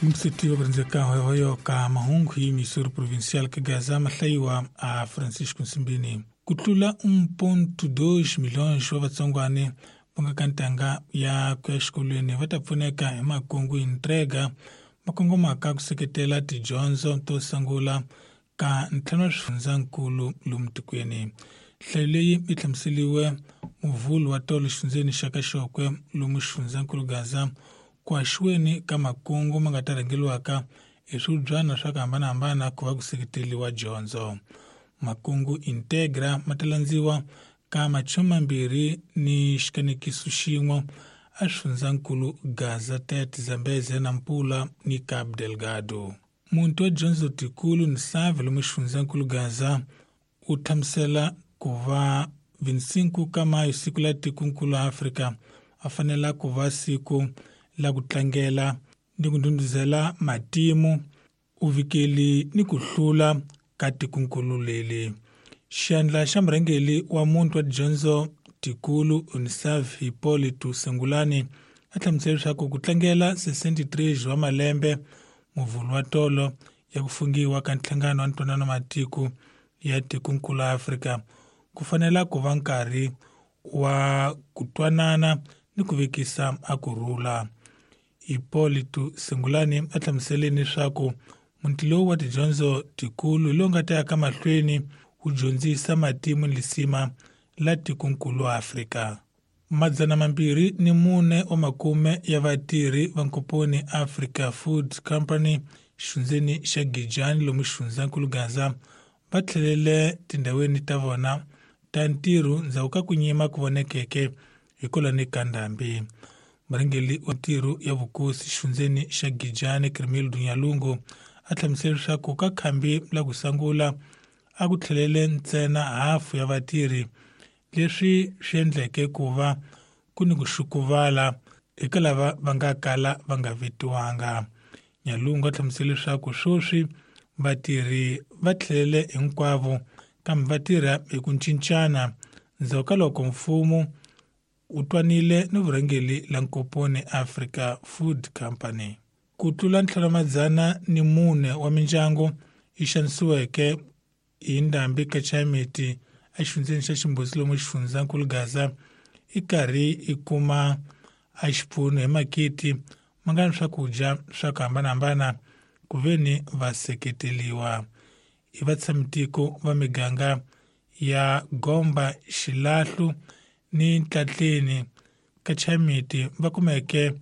Mseti wa kurenzeka hoyohoyo ka mahungu hi Missouri Provincial ka Gaza mahlayiwa a Francisco Nsimbini. Ku tlula 1.2 milhões wa vatsongwane va nga ka ntanga ya ku ya exikolweni va ta pfuneka hi makungu Intrega ma kongomaka ku seketela tidyondzo to sungula ka ntlhanu wa swifundzankulu lomu tikweni. Nhlayo leyi yi hlamuseriwe muvhulu wa tolo xifundzeni xa ka Xokwe lomu xifundzankulu Gaza ku haxiweni ka makungu ma nga ta rhangeriwaka hi swibyana swa ku hambanahambana ku va ku seketeriwa dyondzo. Makungu Integra ma ta landziwa ka 20 ni xikanekiso xin'we a swifundzankulu Gaza, Tete, Zambezia, Nampula ni Cabo Delgado. Muti wa dyondzo tikulu Nsave lomu xifundzankulu Gaza u hlamusela ku va 25 ka Mayo siku la tikonkulu Afrika a fanela ku va siku la ku tlangela ni ku ndhundhuzela matimu uvikeli ni ku hlula ka tikonkulu leli. Xandla xa murhangeri wa muti wa dyondzo tikulu Unisav Hippolyte Sengulani a hlamusela leswaku ku tlangela 63 wa malembe muvhulu wa tolo ya ku fungiwa ka nhlangano wa ntwanano matiko ya tikonkulu Afrika ku fanela ku va nkarhi wa ku twanana ni ku vekisa a ku rhula. Hippolyte Sengulani a hlamusele leswaku muti lowu wa tidyondzo tikulu hi lowu nga ta ya ka mahlweni wu dyondzisa matimu ni lisima la tikonkulu Afrika. 204 wa makume ya vatirhi va nkomponi Africa Food Company xifundzeni xa Gijani lomu xifundzankulu Gaza va tlhelele tindhawini ta vona ta ntirho ndzhaku ka ku nyima ku vonekeke hikwalani ka ndhambi. Murhangeri wa ntirho ya vukosi xifundzeni xa Gijani Krimil Dunyalungu a hlamusela leswaku ka khambi la ku sungula a ku tlhelele ntsena hafu ya vatirhi leswi swi endleke ku va ku ni ku xukuvala eka lava va nga kala va nga vitiwanga. Nyalungu a hlamusela leswaku sweswi vatirhi va tlhelele hinkwavo kambe va tirha hi ku cincana ndzhaku ka loko mfumo u twanile ni vurhangeri la nkomponi Africa Food Company. Ku tlula 504 wa mindyangu yi xanisiweke hi ndhambi ka Chayimeti exifundzeni xa Ximbuzi lomu xifundzankulu Gaza i karhi i kuma a xipfuno hi makiti ma nga ni swakudya swa ku hambanahambana ku ve ni va seketeliwa hi vatshamitiko va miganga ya Gomba, Xilahlu ni Ntlatleni ka Chayimeti va kumeke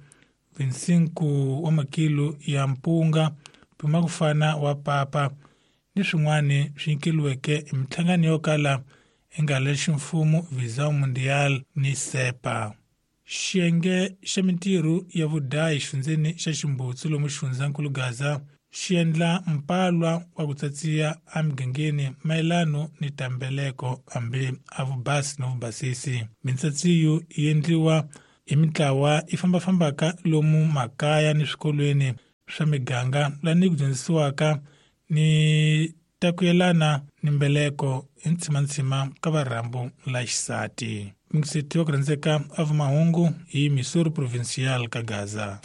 25 wa makilo ya mpunga, mpimo ku fana wa papa ni swin'wana swi nyikeriweke hi minhlangano yo kala yi nga le ximfumo Visão Mundial ni SEPA. Xiyenge xa mintirho ya vudayi xifundzeni xa Ximbutsu lomu xifundzankulu Gaza xi endla mpalwa wa ku tsatsiya emigangeni mayelano ni tambeleko hambi a vubasi no vubasisi. Mintsatsiyo yi endliwa hi mintlawa yi fambafambaka lomu makaya ni swikolweni swa miganga lani ku dyondzisiwaka ni ta ku yelana ni mbeleko hi ntshimantshima ka varhambu la xisati. Mingiseti wa ku rhandzeka a vumahungu hi Missouri Provincial ka Gaza.